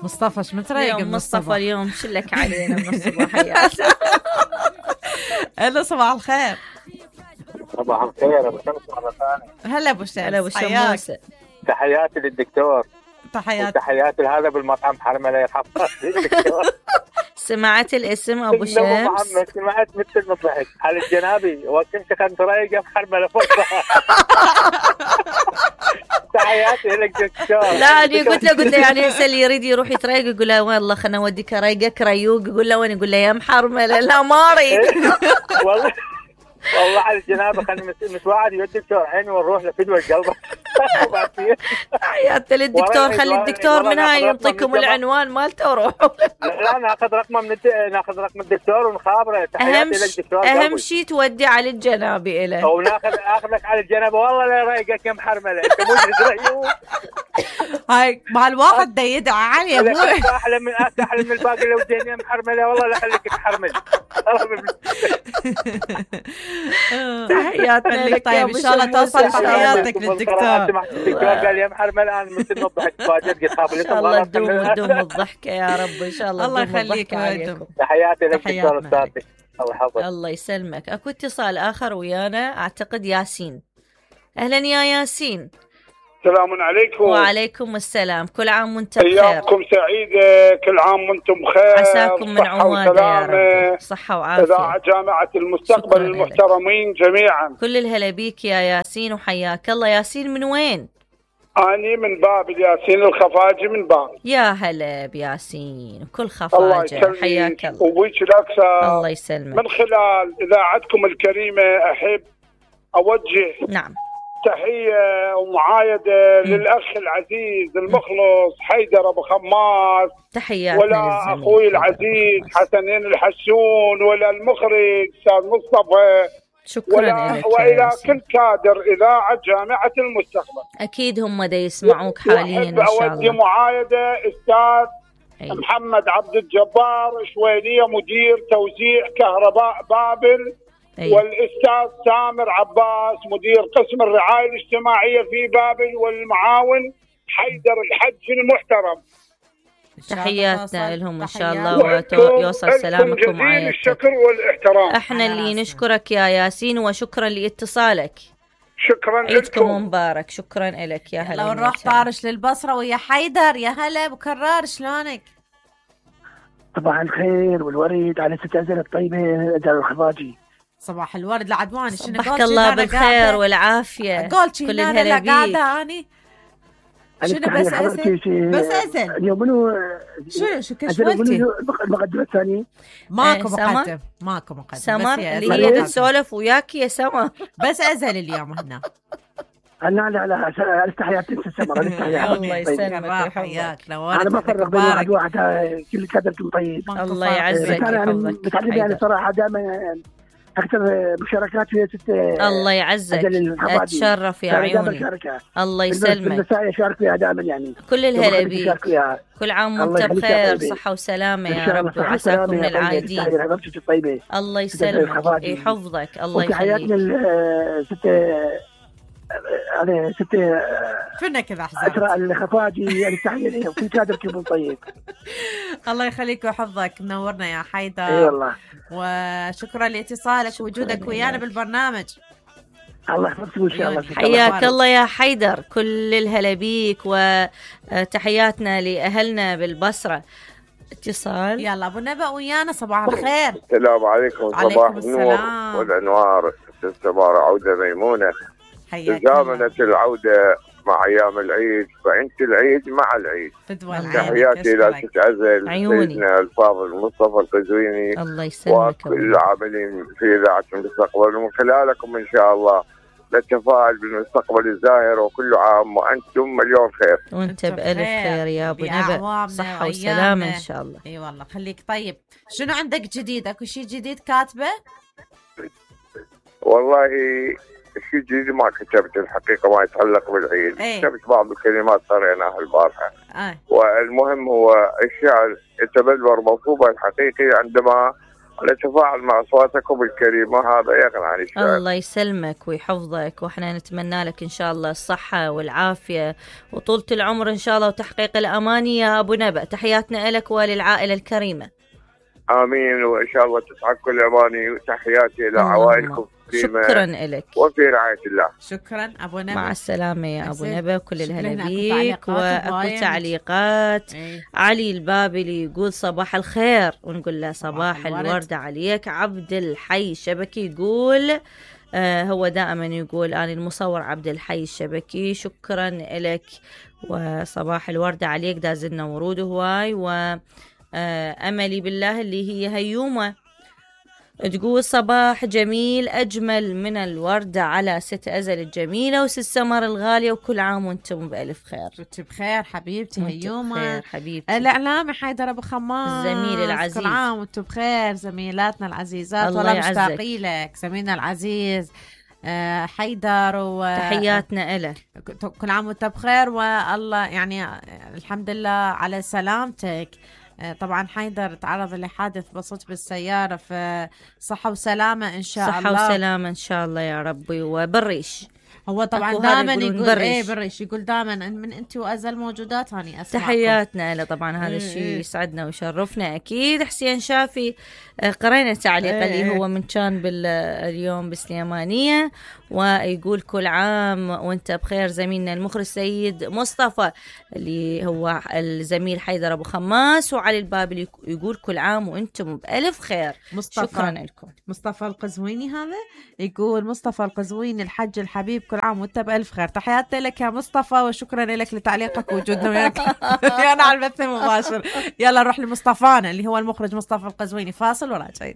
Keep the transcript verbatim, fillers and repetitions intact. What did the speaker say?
مصطفى ايش متريق اليوم مصطفى اليوم شلك علينا من الصباحيات. الو صباح الخير. صباح الخير ابو شمس مره ثانيه. هلا ابو شمس. هلا ابو شمس. تحياتي للدكتور. تحياتي تحياتي لهذا بالمطعم حرمله يرحمه الدكتور. سمعت الاسم ابو شمس؟ محمد سمعت مثل ما ضحك على الجنابي وكنت كنت رايقه في حرمله فوق. تحياتي لك دكتور. لا انا قلت له قلت له يعني هسه اللي يريد يروح يتريق يقول له والله خلنا اوديك رايقك ريوق، يقول له وين؟ يقول له يا محرمله. لا ما اريد. والله والله على الجنابه خلينا متواعد يا دكتور عيني ونروح لفدوى القلب. حياتي للدكتور، خلي الدكتور من هاي يعطيكم العنوان مالته وروحوا. لا ناخذ رقمه من الد... ناخذ رقم الدكتور ونخابره. اهم شيء اهم شيء تودي على الجنابي له او ناخذ اخذك على الجنابه. والله لا رايقك يا محرمله انت مو ريوق. هاي مع الواحد ده يدعى علي يا ابوي. احلى من احلى من الباقي لو زين يا محرمله. والله لا خليك تحرمل. تحياتنا لك. طيب ان شاء الله توصل تحياتك للدكتور. الدكتور قال يا محرمله انا مثل ما ضحكت فاجأت قلت ان شاء الله تدوم تدوم الضحكه يا رب. ان شاء الله الله يخليك ويدوم. تحياتي لك دكتور استاذك. الله يحفظك. الله يسلمك. اكو اتصال اخر ويانا اعتقد ياسين. اهلا يا ياسين. السلام عليكم. وعليكم السلام. كل عام وانت بخير. ايامكم سعيده. كل عام وانتم بخير. عساكم من عواده يا رب. صحه وعافيه. اذاعه جامعه المستقبل المحترمين جميعا. كل الهلا بيك يا ياسين وحياك الله. ياسين من وين؟ اني من بابل. ياسين الخفاجي من بابل. يا هلا بياسين كل خفاجه. حياك الله. وبيك الاكثر. الله يسلمك. من خلال اذاعتكم الكريمه احب اوجه نعم تحية ومعايدة م. للأخ العزيز المخلص حيدر أبو خماس. تحياتنا ولا أخوي العزيز حسنين الحسون ولا المخرج أستاذ مصطفى. شكرا لك. وإلى كل كادر إذاعة جامعة المستقبل. أكيد هم دا يسمعوك حاليا إن شاء الله. أودي معايدة أستاذ أي. محمد عبد الجبار شويلية مدير توزيع كهرباء بابل. أيه. والأستاذ سامر عباس مدير قسم الرعاية الاجتماعية في بابل، والمعاون حيدر الحج المحترم. تحياتنا لهم إن شاء الله ويوصل سلامكم وعافيتك. الشكر والاحترام. احنا اللي نشكرك يا ياسين وشكرا لاتصالك. شكرا لكم. عيدكم مبارك. شكرا لك يا هلا. لو نروح طارش للبصرة ويا حيدر. يا هلا ابو كرار شلونك؟ صباح الخير والوريد على ست أزل الطيبة أزل الخفاجي. صباح الورد لعدواني. شنو صبحك الله بالخير والعافية. كل الهلا بيك. قاعدة أني شنو بس أزل بس أزل اليوم منو شنو شو كشولتي المقدمة الثانية؟ ماكو مقدم ماكو مقدم. سمر اللي هي تسولف وياك يا سمر. بس أزل اليوم هنا. لا لا لا استحيات تنسى السمر. الله يسلمك ويحياك. انا ما فرق بين واحد واحد كل كادركم طيب. الله يعزك ويحفظك. متعلم يعني صراحة دائما أكثر مشاركات في ست. الله يعزك. أتشرف يا عيوني. الله يسلمك. بالنساء يشارك فيها دائما يعني. كل الهلا بيك. كل عام وانت بخير صحة وسلامة يا رب وعساكم من العايدين. الله يسلمك يحفظك. الله يخليك. ست أنا ست فينا كذا أحزاب أسرع الخفاجي يعني تحية لي وكل كادر كيف طيب. الله يخليك ويحفظك. منورنا يا حيدر. اي والله. وشكرا لاتصالك ووجودك ويانا بالبرنامج. الله يحفظك ان شاء الله. حياك الله يا حيدر. كل الهلا بيك وتحياتنا لأهلنا بالبصرة. اتصال. يلا ابو نبأ ويانا. صباح الخير. السلام عليكم. صباح النور والانوار. السمارة عودة ميمونة. تزامنت العودة مع أيام العيد فأنت العيد مع العيد. تحياتي إلى ست أزل سيدنا الفاضل مصطفى القزويني. الله يسلمك. وكل العاملين في إذاعة المستقبل ومن خلالكم إن شاء الله نتفائل بالمستقبل الزاهر. وكل عام وأنتم مليون خير. وأنت بألف خير يا أبو نبأ. صحة وسلامة إن شاء الله. إي والله خليك طيب. شنو عندك جديد؟ أكو شيء جديد كاتبه؟ والله الشيء الجديد ما كتبت الحقيقة ما يتعلق بالعيد. ايه؟ كتبت بعض الكلمات قرأناها البارحة. ايه؟ والمهم هو الشعر يتبلور موصوبه الحقيقي عندما ونتفاعل مع أصواتكم الكريمة، هذا يغني عن الشعر. الله يسلمك ويحفظك، وإحنا نتمنى لك إن شاء الله الصحة والعافية وطولة العمر إن شاء الله وتحقيق الأماني يا أبو نبأ. تحياتنا لك وللعائلة الكريمة. آمين، وإن شاء الله تسعد كل أماني، وتحياتي إلى عوائلكم. شكرا لك وفي رعاية الله. شكرا أبو نبأ. مع السلامة يا أبو نبأ، كل الهلا بيك. وأكو تعليقات. ايه. علي البابلي يقول صباح الخير، ونقول له صباح, صباح الورد عليك. عبد الحي الشبكي يقول آه هو دائما يقول أنا المصور عبد الحي الشبكي، شكرا لك وصباح الورد عليك. دازلنا ورود هواي. وأملي بالله اللي هي هيومة تقول صباح جميل أجمل من الوردة على ست أزل الجميلة وست سمر الغالية، وكل عام وانتم بألف خير. وانت بخير حبيبتي هيومة حبيبتي. الإعلامي حيدر أبو خماس الزميل العزيز، كل عام وانتم بخير. زميلاتنا العزيزات والله مشتاقين لك. زميلنا العزيز حيدر وتحياتنا له، كل عام وانت بخير والله يعني الحمد لله على سلامتك. طبعا حيدر تعرض لحادث بسيط بالسيارة، في صحة وسلامة إن شاء صحة الله. صحة وسلامة إن شاء الله يا ربي. وبالريش هو طبعا دائما يقول بريش. ايه بريش يقول دائما من انت وازل موجودات هاني اسمعكم. تحياتنا له طبعا، هذا الشيء يسعدنا ويشرفنا اكيد. حسين شافي قرينا تعليق اللي ايه هو من كان باليوم بالسليمانية، ويقول كل عام وانت بخير زميلنا المخرج سيد مصطفى اللي هو الزميل حيدر ابو خماس. وعلي البابلي يقول كل عام وانتم بألف خير. مصطفى شكرا لكم. مصطفى القزويني هذا يقول مصطفى القزويني الحج الحبيب كل عام وانت بألف خير. تحياتي لك يا مصطفى وشكرا لك لتعليقك ووجودنا وياك انا على البث المباشر. يلا نروح لمصطفانا اللي هو المخرج مصطفى القزويني. فاصل وراجعين.